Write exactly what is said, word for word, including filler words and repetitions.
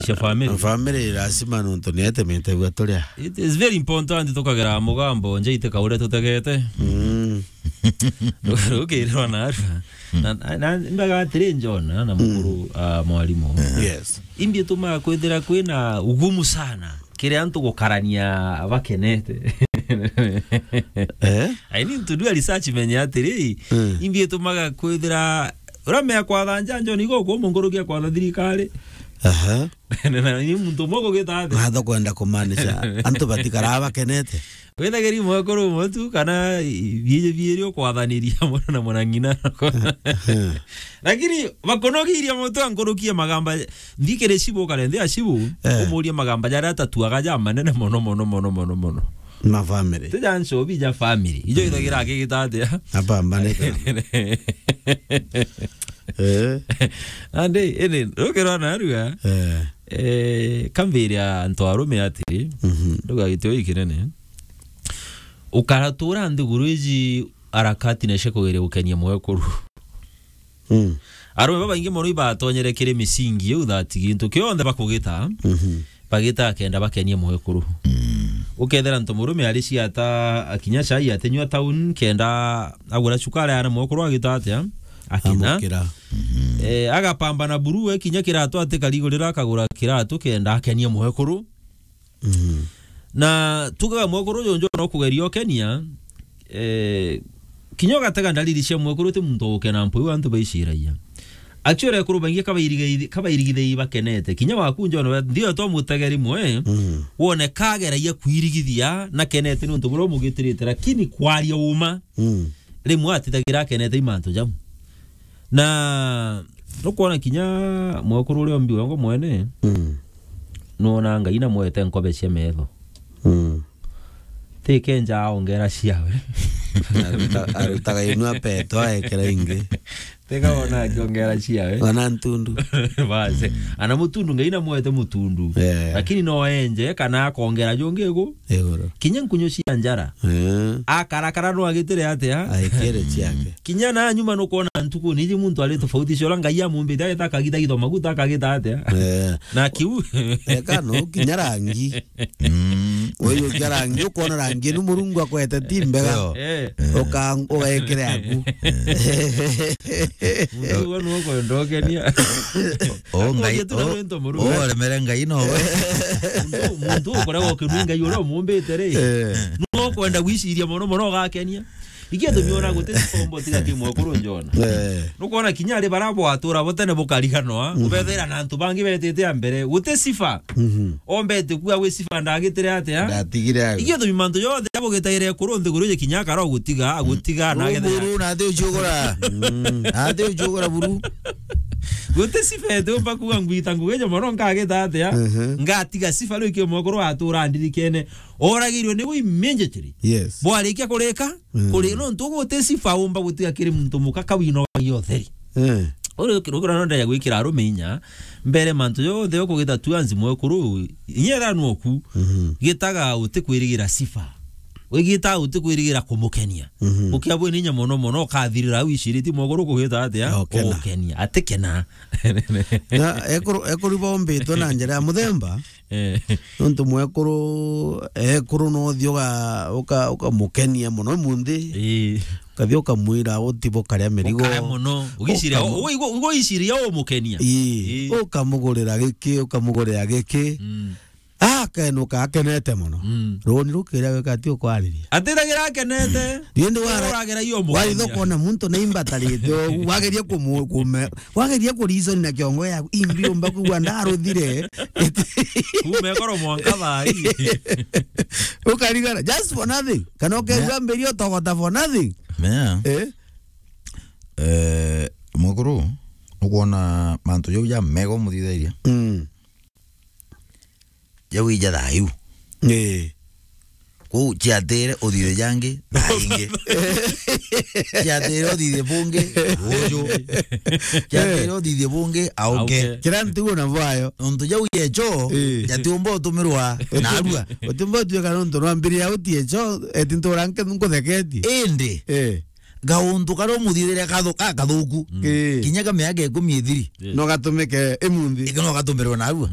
cia family. Family lazima nontu ni etemete gwa turia. It is very important tukagera mugambo nje ite kauria tutegete. Mm. Rukirirwa narua. Na, na, na mbaga atiri John na mukuru, ah, mwalimu. Yes. Imbi tumaga kwithira kwina ugumu sana kiri antu gukarania bakenete. Eh? I need to do a research menye atiri, mm, imbi tumaga kwithira uramea kwatha njanjo nigo kumungorokia kwatha thirikari. Aha. Na ni muntu umwe kugita athi. Matho kwenda kumanisha antu batikara bakenete. Withagiri mwekuru umwe tu kana biiji biiri ukwathaniria mwana na mwana ng'ina. Lakini bakunogiria mutu ankurukie magamba, nthikire cibu kare nthi acibu, eh, umurie magamba jaria atatuaga ja manene mono, mono, mono, mono, mono. Ma family. Tija ncobi ja family. Ijo ithagira akigita atia? Apambanite. Eh. Ande, ene, rukirwa narua. Eh. Eh, kambiria antu arume atiri, mhm, ndugagitio ikinene. Ukaratura nthiguru iji harakati na cia kugeria gukenia mwekuru. Mm. Arume babaingi mono ibatonyere kiri misingi iu that gintu kionthe bakugita, mhm, bagita kenda bakenie mwekuru. Mm. Ukethira ntu murume ari ciata akinya cai atinywa town kenda agura cukari ana mwekuru agita atia? Akina. Amukira. Mhm. Eh, agapambana buru we kinya kiratu ati karigurira akagura kiratu kenda akenie mwekuru. Mhm. Na tugaga mwekuru jonjo no kugeria ukenia, eh, kinya ugatega ndariri cia mwekuru ti muntu ugukena mpu iu antu baiciragia. Actually, ekuru baingi kabairigithei-, kabairigithei bakenete. Kinya waku njono, ndio to mutegeri mwe, mhm, wone kageragia kwirigithia na kenete ni untu buria umugitirite, lakini kwaria uma, mm, rimwe atitagira akenete i mantu jau. Na nukwona kinya mwekuru uria ombi wongo mwene, mm, nuona Ngai na mwete nkobe cia metho. Mm. Ti kenja aongera ciawe. Aruta-, arutaga inua peto aekera ingi. Tega wona akiongera ciawe. Wana ntundu. Basi. Mm. Ana mutundu, Ngai na mwete mutundu. Eh. Lakini no enje kana akongera jungi igu. Iguru. Kinya nkunyu cia njara. Eh. Akarakara no agitire atia? Aikere ciake. Kinya na nyuma nukwona ntuku niji muntu ari tofauti cio uria Ngai amumbite agita akagita githo maguta akagita atia? Eh. Na kiu. Eka no kinya rangi. Mm. Uyu kia rangi, ukona rangi ni Murungu akwete ti mbega. Yo. Eh. Uka-, ugaikire aku. Muntu uwe nuwe kwenda ukenia. O Ngai, Akwonjete na o, wento Murungu. O remere Ngai no we. Muntu, muntu ukoragwo ukinui Ngai uria umumbite ri. Eh. Nuwe ukwenda gwiciria mono mono ugakenia. Iki gitumi ona guti sifa umba utiga ki mwekuru njona. Eh. Nukwona kinya ari bara bwatura bo tene bukariganwa, mm, ubethira na antu bangi betite a mbere, guti sifa. Mhm. Ombete kuga gwi sifa ndagitire atia? Ndatigire awe. Iki gitumi mantu jonthe jabugitaire ekuru nthiguru je kinya akara gutiga, agutiga na agetha. Muru na athi uciugura. Mm. Athi uciugura buru. Guti sifa ete umba kuga ngwita ngugi ja mono nkagita atia? Mhm. Ngatiga sifa riu ki mwekuru atura ndirikene. Oragirwe niwe immediately. Yes. Bwarikia kurika, mm, kuri nontu guti sifa umba gutiga kiri muntu muka kawino wa utheri. Eh. Uri rukira no ndaya gwikira arume inya, mbere mantu jonthe ukugita tu anzi mwekuru, inya ethira nwoku, mhm, gitaga uti kwirigira sifa. Wigita uti kwirigira kumukenia. Mhm. Ukia bwe ninya mono mono, ukathirira au iciriti mwekuru kugita atia? Okena. Ukenia. Atikena. Na ekuru, ekuru bombitwe na njira ya muthemba, Eh. Nontu mwekuru, ekuru no uthi uga-, uka-, ukamukenia mono munthi. Ii. Ukathi ukamwira utibo karia mirigo. Ukaria mono. Ugiciria, ukamu- ugu-, ugu-, ugu iciria umukenia. Ii. Ii. Ukamugurira giki, ukamugurira giki. Mm. Akenuka akenete mono. Mm. Runi rukiria weka ati ukwariria. Atithagira akenete. Rindi wara-, uragira iyo umukenia. Waitho kuona muntu ni imbatarite ugu, wageria kumu-, kume-, Wageria ku reason na kiongo yaku, imbi umba kugua ndaruthire. Kuuma ekoro mwanka thaa ii. Ukarigara, just for nothing. Kana ukaigua mbiri utogota for nothing. Mea. Eh? Eh, mukuru, ukwona mantu jau ja mego muthithairia. Mm. Jau ija thayu. Ii. Kuu ciatire uthithe jangi, thaa ingi. Ciatire uthithe bungi, uju. Ciatire uthithe bungi, auke. Auke. Kira ntugo na vayo. Nontu jau yecho, ii, jatiumba utumirwa narua. Utiumba utuika nontu rwambiri ya uti echo, eti ntura nke nkutheketie. Indi. Ii. gauntu karia umuthithire kathu-, ka kathuku. Ii. Kinya ka miaka ikumi ithiri. Yes. No gatumike imunthi. Ika no gatumirwe narua.